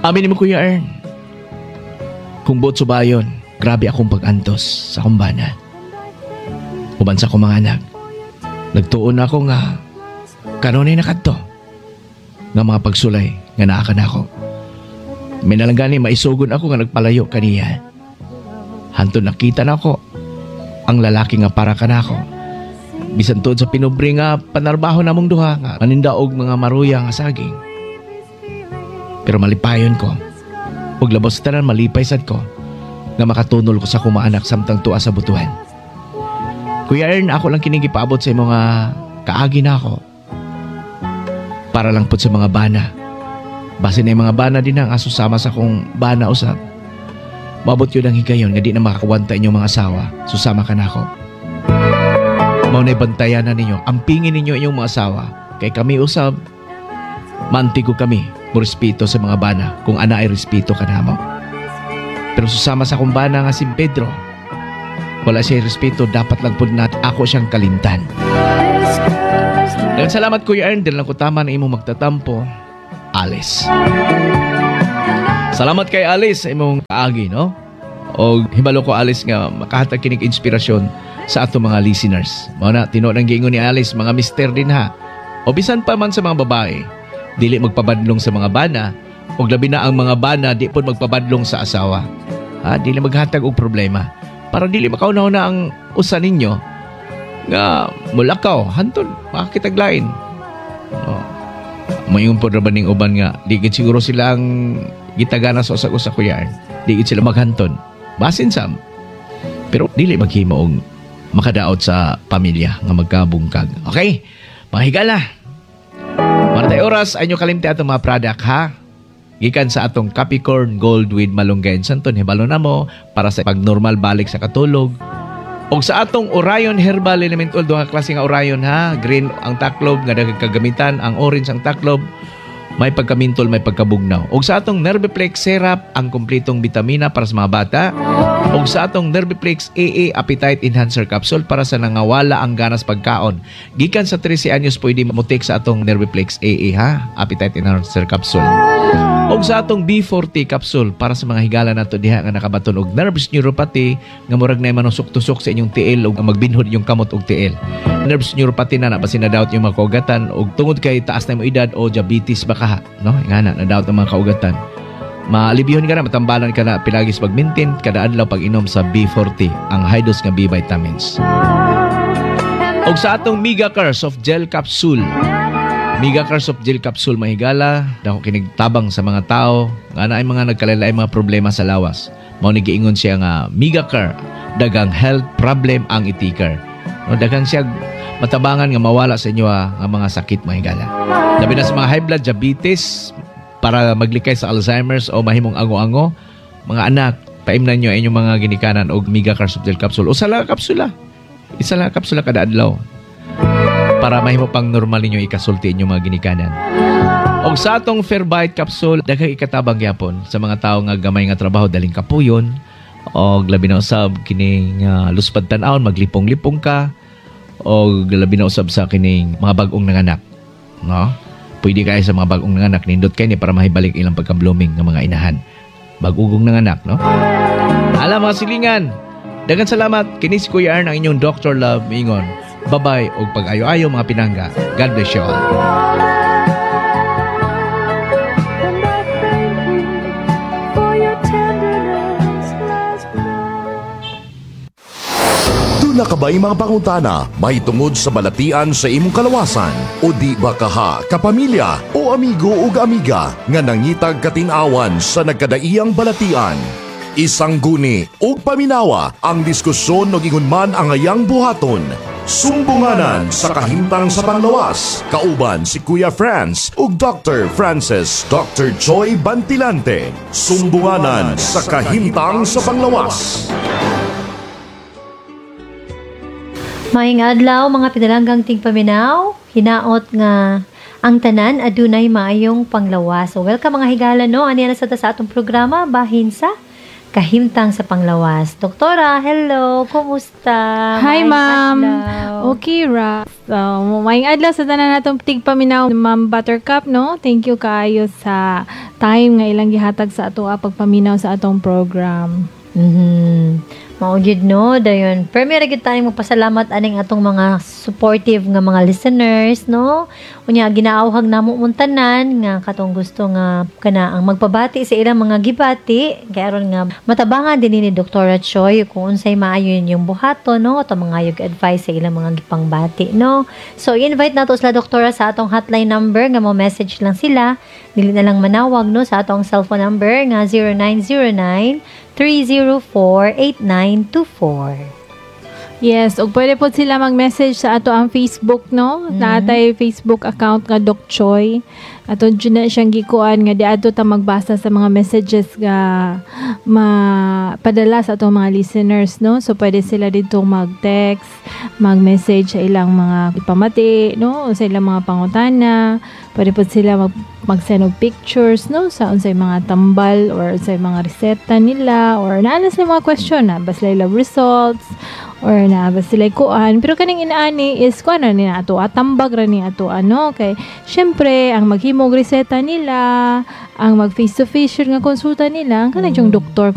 Amin mo, Kuya Ern. Kung buot subayon, grabe akong pag-antos sa akong bana. Uban sa akong mga anak. Nagtuon ako nga kanunay na kadto nga mga pagsulay nga naa ka nako. May nalang gani maisugon ako nga nagpalayo kaniya. Hantod nakita nako ang lalaki nga para kanako. Bisan tuod sa pinubre nga panarbaho namong duha nga maninda og mga maruya nga saging. Pero malipayon ko. Ug labos tanan malipay sad ko nga makatunol ko sa akong mga anak samtang tuwa sa Butuan. Kuya Ern, ako lang kining gipaabot sa imong nga kaagi na ako. Para lang pud sa mga bana. Basin na yung mga bana din ang aso sama sa akong bana usab. Maabot yun ang higayon nga di na makakawanta inyong mga asawa. Susama ka na ako. Mao na'y bantayan na ninyo. Ampingin ninyo inyong mga asawa. Kay kami usab, mantigo kami. Respeto sa mga bana. Kung ana ay respeto ka na mo. Pero susama sa akong bana nga si Pedro, wala siya respeto, dapat lang pud nat ako siyang kalintan. Daghang salamat, Kuya Ern. Dili lang ko tama na imong magtatampo. Alice. Salamat kay Alice sa imong kaagi, no? O hibalo ko, Alice, nga makahatag kinig inspirasyon sa ato mga listeners. Mao na tinuod ang giingon ni Alice, mga mister din ha. O bisan pa man sa mga babae, dili magpabadlong sa mga bana, o labi na ang mga bana di pod magpabadlong sa asawa. Ha, dili maghatag og problema. Para dili makauna-una ang usa ninyo nga mulakaw hantod makakitaglain. No. Moingon pod ra ba ning uban nga di gid siguro sila ang gitagana sa usag-usa, Kuya Ern. Di gid sila maghantod. Basin sam. Pero dili maghimo og makadaot sa pamilya nga magkabungkag. Okay? Mga higala. Para tayo oras, ay nyo kalimti atong mga product, ha? Gikan sa atong Capricorn Gold with Malunggay and Santon, hibalo na mo para sa pag-normal balik sa katulog. Og sa atong Orion Herbal Element Oil, duha ka klase nga Orion, ha. Green ang taklob nga daghang kagamitan, ang orange ang taklob, may pagkamintol, may pagkabugnaw. Og sa atong Nerviplex Syrup, ang kompletong bitamina para sa mga bata. Og sa atong Nerviplex AA Appetite Enhancer Capsule para sa nangawala ang ganas pagkaon. Gikan sa 13 anyos pwede mutik sa atong Nerviplex AA, ha, Appetite Enhancer Capsule. Og sa atong B40 capsule para sa mga higala nato diha nga nakabaton og nerves neuropathy nga murag na manusok-tusok sa inyong tiil og magbinhod inyong kamot og tiil. Nerves neuropathy na basin na daot yung mga kaugatan og tungod kay taas na imong edad o diabetes ba ka, no? Nga na nadaot ang mga kaugatan. Maalibihon ka na, matambalan ka na pilagis pag-maintain kada adlaw pag-inom sa B40, ang high dose nga B vitamins. Og sa atong Mega Car Soft Gel Capsule. Mega Car Soft Gel Capsule, mahigala, dako kinigtabang sa mga tao nga naay mga nagkalain mga problema sa lawas. Mao ni giingon siya nga Mega Car dagang health problem ang itikar. No, daghang siya matabangan nga mawala sa inyo nga mga sakit, mahigala. Labi na sa mga high blood, diabetes, para maglikay sa Alzheimer's o mahimong ango-ango, mga anak, paimnan nyo inyong mga ginikanan og Mega Car Soft Gel Capsule. Usa lang kapsula. Isa lang kapsula kada adlaw. Para mahimo pang normal ninyo ikasulti inyong mga ginikanan. Og sa atong Fairbyte capsule, daghang ikatabang gyapon sa mga tawo nga gamay nga trabaho, daling kapuyon, og labi na usab kining luspad tan-awon, maglipong-lipong ka, og labi na usab sa kining mga bag-ong nanganak, no? Pwede kayo sa mga bag-ong nanganak, nindot kay ni para mahibalik ilang pagka-blooming ng mga inahan. Bag-ugong nanganak, no? Alam mga silingan, daghang salamat. Kini si Kuya Ern, ang inyong Dr. Love, miingon. Bye-bye og pag-ayo-ayo mga pinangga. God bless you all. And I thank you for your tenderness last night. Duna ka ba'y mga pangutana may tungod sa balatian sa imong kalawasan? O di ba kaha, kapamilya o amigo ug amiga nga nangitag katinawan sa nagkadaiyang balatian? Isang guni ug paminawa ang diskusyon og ingon man ang ayang buhaton. Sumbunganan sa kahimtang sa panglawas. Kauban si Kuya Franz ug Dr. Francis Dr. Joy Bantilante. Sumbunganan sa kahimtang sa panglawas. Maayong adlaw mga pinalanggang tingpaminaw, hinaot nga ang tanan adunay maayong panglawas. So welcome mga higala, no, ani na sa ta sa atong programa bahin sa Kahimtang sa panglawas. Doktora, hello, kumusta? Hi, Maayong ma'am. Adlaw. Okay ra. So, maayong adlaw sa tanan natong tigpaminaw, Ma'am Buttercup, no? Thank you kaayo sa time nga ilang gihatag sa ato pagpaminaw sa atong program. Mao gyud, no, dayon. Pero may gyud tayong magpasalamat aning atong mga supportive nga mga listeners, no? Unya ginaawhag namo mong tanan nga katong gusto nga kana ang magpabati sa ilang mga gibati kay aron nga matabangan din ni Dr. Choi kung unsay maayo inyong buhaton, no, ato mga yung advice sa ilang mga gipangbati, no? So invite nato sila, Doktora, sa atong hotline number nga mo message lang sila, dili na lang manawag, no, sa atong cellphone number nga 0909 304-8924. Yes, ug pwede po sila mag-message sa ato ang Facebook, no? Naa tay Facebook account nga Doc Choi. Ato dyan na siyang gikuan nga diadto ta magbasa sa mga messages nga mapadala sa atong mga listeners, no? So pwede sila dito mag-text, mag-message sa ilang mga ipamati, no? Sa ilang mga pangutana. Pwede po sila mag-send og pictures, no, sa unsay mga tambal or unsay mga reseta nila or naa na sila mga question na basta lab results or na ba sila kuan, pero kaning inaani is kuan na ni ato, atambag ra ni ato ano, kay syempre ang maghimog reseta nila, ang mag face to face nga konsulta nila, ang kanang yung doktor kung